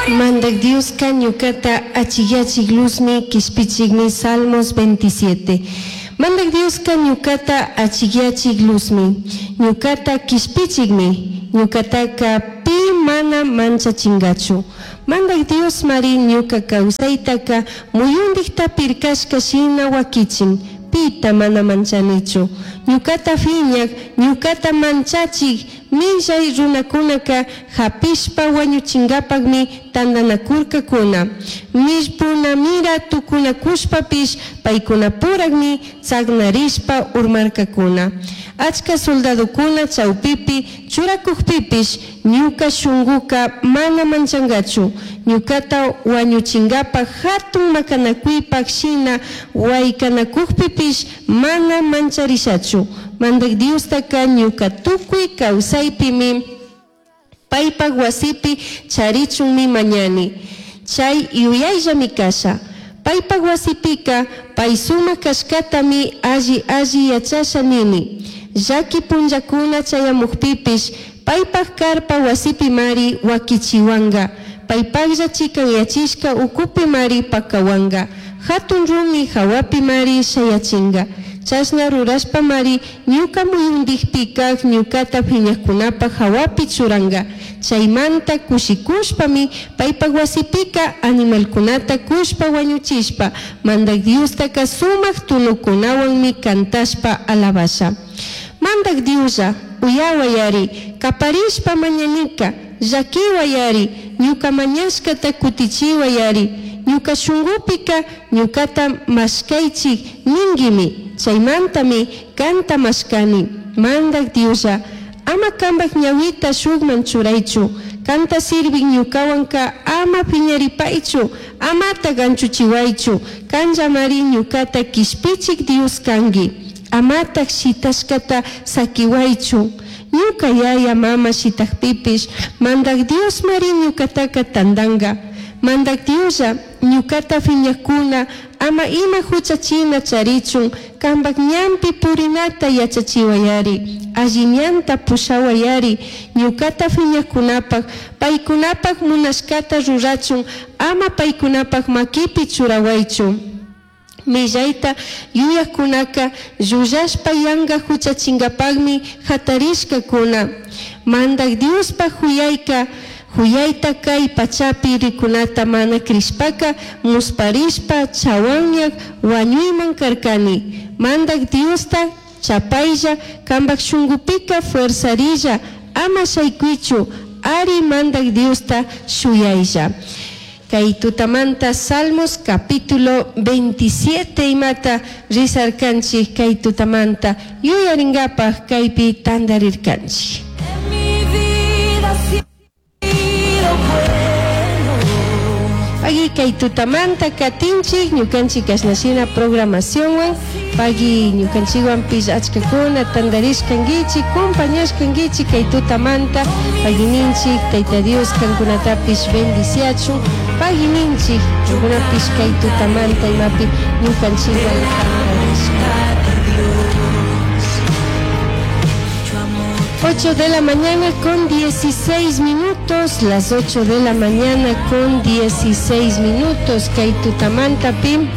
Mandaj Diosca ñucata achijyachij luzmi, quishpichijmi. Salmos 27. Mandaj Diosca ñucata achijyachij luzmi, ñucata quishpichijmi, ñucataca pi mana manchachingachu. Mandaj Diosmari ñuca causaitaca muyundijta pircashca shina huaquichin, pita mana manchanichu. Ñucata fiñaj, ñucata manchachij millai runacunaca japishpa huañuchingapajmi tandanacurcacuna. Millpunamira tucunacushpapish paicunapurajmi tsagnarishpa urmarcacuna. Achca soldadocuna chaupipi churacujpipish ñuca shunguca mana manchangachu. Ñucata huañuchingapaj jatun macanacuipaj shina huaicanacujpipish mana mancharishachu. Mandaj Diostaca ñuca tucui causaipimi paipaj huasipi charichunmi mañani. Chai yuyaillami casha. Paipaj huasipica pai sumaj cashcatami alli alli yachasha nini. Llaqui punllacuna chayamujpipish paipaj carpa huasipimari huaquichihuanga. Paipajlla chicanyachishca ucupimari pacahuanga. Jatun rumi jahuapimari shayachinga. Chashna rurashpamari ñuca muyundijpi caj ñucata fiñajcunapaj jahuapi churanga. Chaimanta cushicushpami paipaj huasipica animalcunata cushpa huañuchishpa Mandaj Diostaca sumaj tunucunahuanmi cantashpa alabasha. Mandaj Dioslla, uyahuayari, caparishpa mañanica, llaquihuayari, ñuca mañashcata cutichihuayari, ñuca shungupica ñucata mashcaichij ninguimi, chaimantami canta mashcani. Mandaj Dioslla, ama cambaj ñahuita shujman churaichu, canta sirvij ñucahuanca ama fiñaripaichu, amataj anchuchihuaichu, canllamari ñucata quishpichij Dios cangui. Amataj shitashcata saquihuaichu. Ñuca yaya mama shitajpipish, Mandaj Diosmari ñucataca tandanga. Mandaj Dioslla, ñucata fiñajcuna ama ima juchachina charichun, cambaj ñanpi purinata yachachihuayari, alli ñanta pushahuayari, ñucata fiñajcunapaj, paicunapaj munashcata rurachun, ama paicunapaj maquipi churahuaichu. Millaita yuyajcunaca llullashpa yanga juchachingapajmi jatarishcacuna. Mandaj Diospaj juyaica, juyaita cai pachapi ricunata mana crishpaca musparishpa chahuanyaj huañuiman carcani. Mandaj Diosta chapailla, cambaj shungupica fuerzarilla, ama shaicuichu, ari Mandaj Diosta shuyailla. Kay tutamanta Salmos capítulo 27 imata rizarkanchik kay tutamanta yuyaringapaj kaypi tandarirkanchik. En mi vida has sido bueno. Pagui kay tutamanta katinchik ñukanchik kashnashina programacionwan pagui ñukanchikwanpish achkakuna tandarishkankichik compañashkankichik kay tutamanta pagui ninchik Tayta Dios kankunatapish bendiciachun pagui ninchik kankunapish kay tutamanta imapi ñukanchikwan tandarishka. 8 de la mañana con 16 minutos, las 8 de la mañana con 16 minutos, kay tutamanta pim.